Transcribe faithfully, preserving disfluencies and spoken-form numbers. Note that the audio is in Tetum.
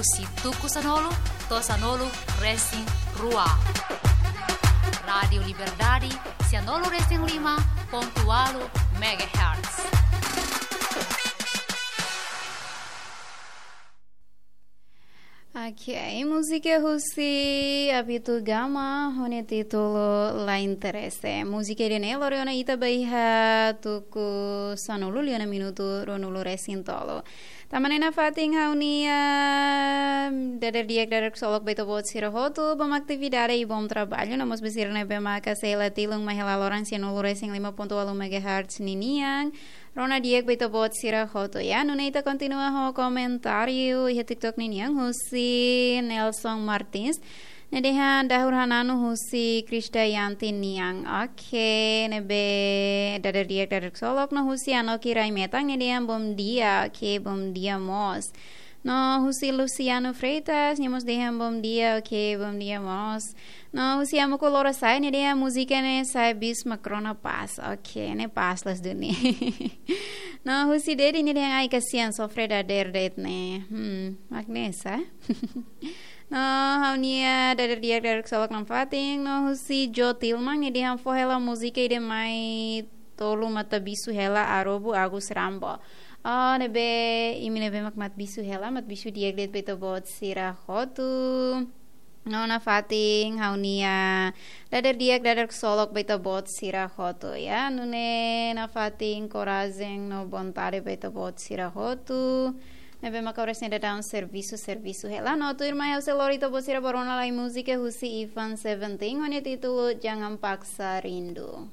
Husi tuku sanulu to'o sanulu resin rua. Rádiu Liberdade, sanulu resin lima pontu ualu megahertz. Ok, múzika husi Abito Gama, ho nia títulu La Interese. Múzika ida-ne'e lori ona ita ba iha tuku sanulu liu ona minutu ruanulu resin tolu. Tanba ne'e nafatin ha'u-nia dadeer di'ak, dadeer ksolok ba ita-boot sira hotu, bom atividade i bom trabalho, no mós ba sira ne'ebé maka sei la tilun mai hela loron sanulu resin lima pontu ualu megahertz ninian. Rona di'ak ba ita-boot sira hotu, ya. Nune'e ita kontinua ho komentáriu iha TikTok ninian husi Nelson Martins. Nia dehan dahur hananu husi Kristayanti nian. Ok, ne'ebé dadeer di'ak, dadeer ksolok. No husi Anoki Rai Metan, nia dehan bom dia. Ok, bom dia mós. No husi Luciano Freitas, nia mós dehan bom dia. Ok, bom dia mós. No husi Amuku Lora Sai, nia dehan múzika ne'e sai bis mak rona pás. Ok, ne'e pás loos duni. No husi Dedi, nia dehan ai kasihan, sofre dadeer de'it ne'e. Hmm, mak ne'e sá. No ha'u-nia dadeer di'ak, dadeer ksolok nafatin. No husi Jo Tilman, nia dehan fó hela múzika ida mai tolu Matabixu hela, Arobu Agus Rambo. Oh, ne'ebé, imi ne'ebé mak Matabixu hela, Matabixu di'ak de'it ba ita-boot sira hotu. No nafatin ha'u-nia dadeer di'ak, dadeer ksolok ba ita-boot sira hotu, ya. Nune'e nafatin korajen no vontade ba ita-boot sira hotu ne'ebé maka oras ne'e daudaun servisu, servisu hela. No tuirmai ha'u sei lori ita-boot sira ba rona lai múzika husi Ivan Seventeen, ho nia títulu Jangan Paksa Rindu.